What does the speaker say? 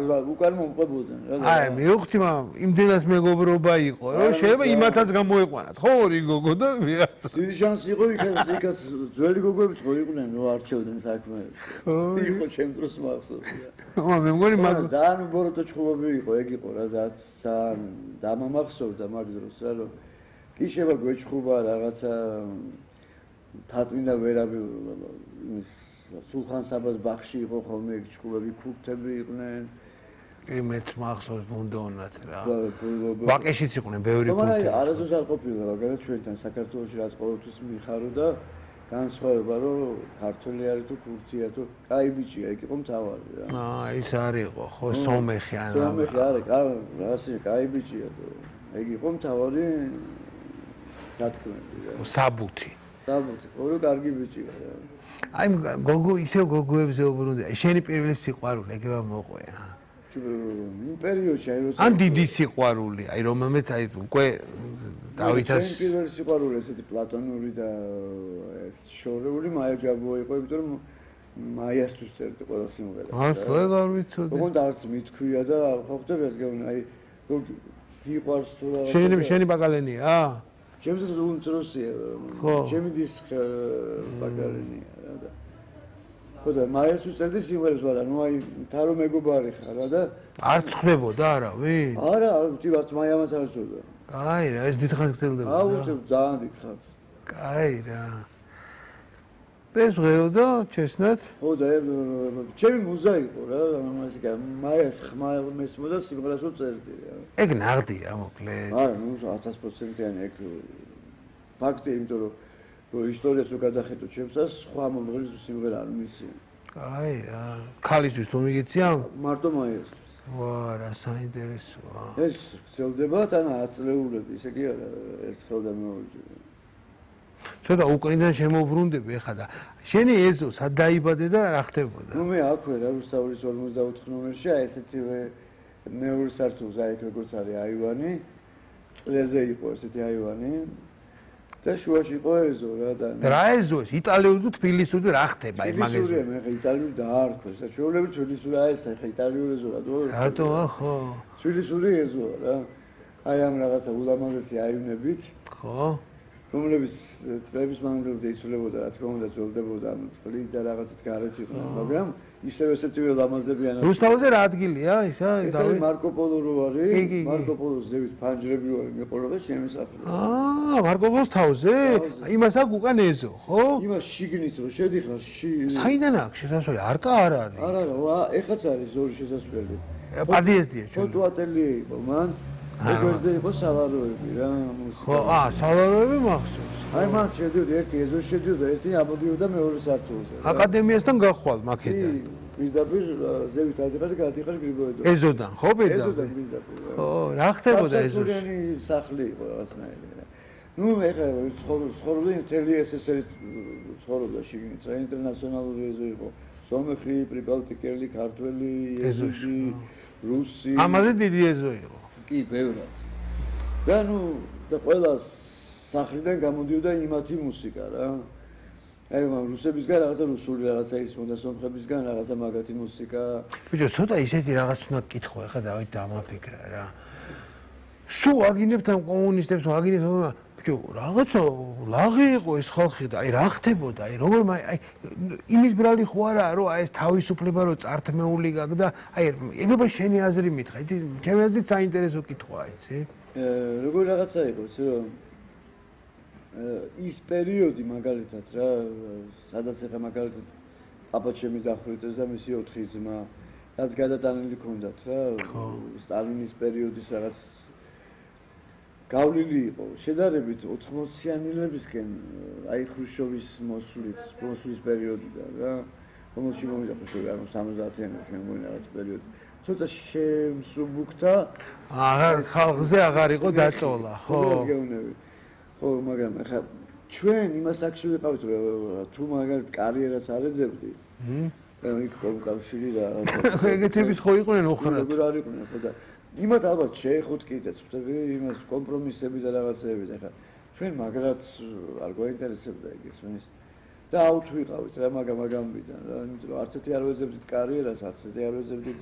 უკან მომყვებოდნენ რა. აი, მივხვდი, მაგრამ იმდენად მეგობრობა იყო, რომ შეიძლება იმათაც გამოეყვანათ, ხო, ორი გოგო და ვიღაცა. დიდი შანსი იყო იქაც ძველი გოგოებიც ხო იყვნენ, რომ არჩევდნენ საქმეებს. იყო ჩემ დროს მახსოვს. მე მგონი მაგ ძალიან უბოროტო ჭხუბები იყო, ეგ იყო რა, ძალიან დამამახსოვდა მაგ დროს რა, რომ კი შევა გვეჭხუბა რაღაცა თაწმინდა ვერაბი იმის სულხან საბას ბაღში იყო ხოლმე ეგ ჭხუბები, ქურთები იყვნენ. იმეთ მახსოვს ბუნდონად რა. ვაკეშიც იყვნენ ბევრი ქურთები. მაგრამ არასდროს არ ყოფილა მაგალითად ჩვენთან საქართველოში რაც ყოველთვის მიხაროდა განსხვავება რომ ქართველი არის თუ ქურთია თუ კაი ბიჭია ეგ იყო მთავარი რა. ის არის იყო ხო სომეხი ან სომეხი არის რასი კაი ბიჭია თუ ეგ იყო მთავარი სათქმელი რა. საბუთი ორი კარგი ბიჭია რა. აი გოგო ისევ გოგოებზე უბრუნდა. შენი პირველი სიყვარული ეგება მოყვე. იმ პერიოდში აი როცა ან დიდი სიყვარული, აი რომელმეც აი უკვე დავითას ჩემი პირველი სიყვარული ესეთი პლატონური და შორეული მაია ჯაბოა იყო, იმიტომ რომ მაიასთვის წერდი ყველა სიმღერას. ხო, არ ვიცოდი. ოღონდ არც მithქვია და ხო ხდება ეს გეუბნი, აი გიყვარს თუ რა. შენი ბაკალენია? ჩემს უმცროსია. ჩემი დის ბაკალენია რა და ხო და მაიასთვის წერდი სიმღერებს, მაგრამ ნუ აი თარო მეგობარი ხარ რა და არ ხდებოდა არავინ? არა, ვარც მაიამაც არ წოდა. კაი რა, ეს დიდხანს გრძელდება. ძალიან დიდხანს. კაი რა. ეს ღეოდა ჩესნათ? ხო და ჩემი მუზა იყო რა, ამას მაიას ხმა მესმოდა სიმღერას წერდი რა. ეგ ნაღდია მოკლედ. არა, ნუ 1000%-იანი ეგ ფაქტია, იმიტომ რომ ისტორიას რო გადახედო ჩემსას, სხვა მომღერლის სიმღერა არ ვიცი. კაი რა. ქალისთვის თუ მიგეცია? მარტო მაიასთვის. ვა, რა საინტერესოა. ეს გრძელდება თან 10 წლეულები, ისე კი არა, ერთხელ და მეორჯერ. ცოტა უკრინიდან შემოbrundები ხა და შენი ეზო სად დაიბადე და რა ხდებოდა? ნუ მე აქვე რა რუსთავის 54 ნომერში აი ესეთივე მეორე სართულზე აი როგორც არის აივანი, წლეზე იყო ესეთი აივანი და შუაში იყო ეზო რა და რა ეზოა? იტალიური თუ თბილისური რა ხდება აი მაგ ეზოზე? მე ხა იტალიური დაარქვეს, საჩვეულები თბილისური აი ეს ხა იტალიური ეზო რა თქო. რატოა ხო? თბილისური ეზოა რა. აი ამ რაღაცა ულამაზესი აივნებით. ხო? რომლებიც წლების მანძილზე იცვლებოდა, რა თქმა უნდა, ძველდებოდა წყლით და რაღაცით გარეთ იყო, მაგრამ ისევ ესეთივე ლამაზებიან. რუსთავზე რა ადგილია ისა? ეს არის მარკო პოლო რო არის, მარკო პოლოს ზევით ფანჯრები რო მიყოლება ჩემი სახლი. მარკო პოლოს თავზე? იმას აქვს უკან ეზო, ხო? იმას შიგნით რო შედიხარ, საიდან აქვს შესასვლელი? არკა არ არის. არა, ეხაც არის ორი შესასვლელი. პადიეზდია ჩვენ. ფოტო ატელიე იყო მანდ. ეგრზე იყო სალაროები რა, მუსიკა. ხო, სალაროები მახსოვს. აი მან შედიოდა ერთი ეზოში შედიოდა, ერთი ამოდიოდა მეორე სართულზე. აკადემიასთან გახვალ მაქედან. პირდაპირ ზევით აზერბაიჯანში და გადაიხარ გრიბოედო. ეზოდან, ხო პირდაპირ? ეზოდან პირდაპირ. ხო, რა ხდებოდა ეზოში? საფსართულიანი სახლი იყო რაღაცნაირი. ნუ ეხლა ცხოვრობდი მთელი SSR-ით ცხოვრობდა შიგნით რა, ინტერნაციონალური ეზო იყო. სომეხი, პრიბალტიკელი, ქართველი, ეზოში, რუსი. ამაზე დიდი ეზო იყო. კი, ბევრად. და ნუ და ყველა სახლიდან გამოდიოდა იმათი მუსიკა რა. აი მაგრამ რუსებისგან რაღაცა რუსული რაღაცა ისმოდა, სომხებისგან რაღაცა მაგათი მუსიკა. ბიჭო, ცოტა ისეთი რაღაც უნდა გკითხო, ახლა დავით დამაფიქრა რა. სულ აგინებთ ამ კომუნისტებს, აგინებთ, ბიჭო, რაღაცა ლაღი იყო ეს ხალხი და აი რა ხდებოდა, აი როგორ აი იმის ბრალი ხო არა, რომ აი ეს თავისუფლება რო წართმეული გაქვს და აი ეგება შენი აზრი მითხრა, ჩემი აზრით საინტერესო კითხვაა, იცი? როგორ რაღაცა იყო, იცი რომ ის პერიოდი მაგალითად რა, სადაც ახლა მაგალითად პაპა ჩემი დახვრიტეს და მისი 4 ძმა, რაც გადატანილი ქონდათ რა, სტალინის პერიოდის რაღაც გავლილი იყო შედარებით 80-იანილებისკენ აი ხრუშჩოვის მოსვლის პერიოდიდან რა რომელში მომიდა ხრუშჩოვი ანუ 70-იანებში მე მგონი რაღაც პერიოდი ცოტა შემსუბუქდა ხალხზე აღარ იყო დაწოლა ხო ეს გეუბნები ხო მაგრამ ახლა ჩვენ იმას აქში ვიყავით თუ მაგალითად კარიერას არ ეძებდი იქ კომკავშირი და ეგეთების ხო იყვნენ ოხრად როგორ არ იყვნენ ხო და იმათ ალბათ შეეხოთ კიდეც ხვდები იმას კომპრომისები და რაღაცეები და ხა ჩვენ მაგრად არ გვაინტერესებდა ეგ ისმის და აუთ ვიყავით რა მაგამიდან რა იმიტომ რომ არც ერთი არ ვეძებდით კარიერას არც ერთი არ ვეძებდით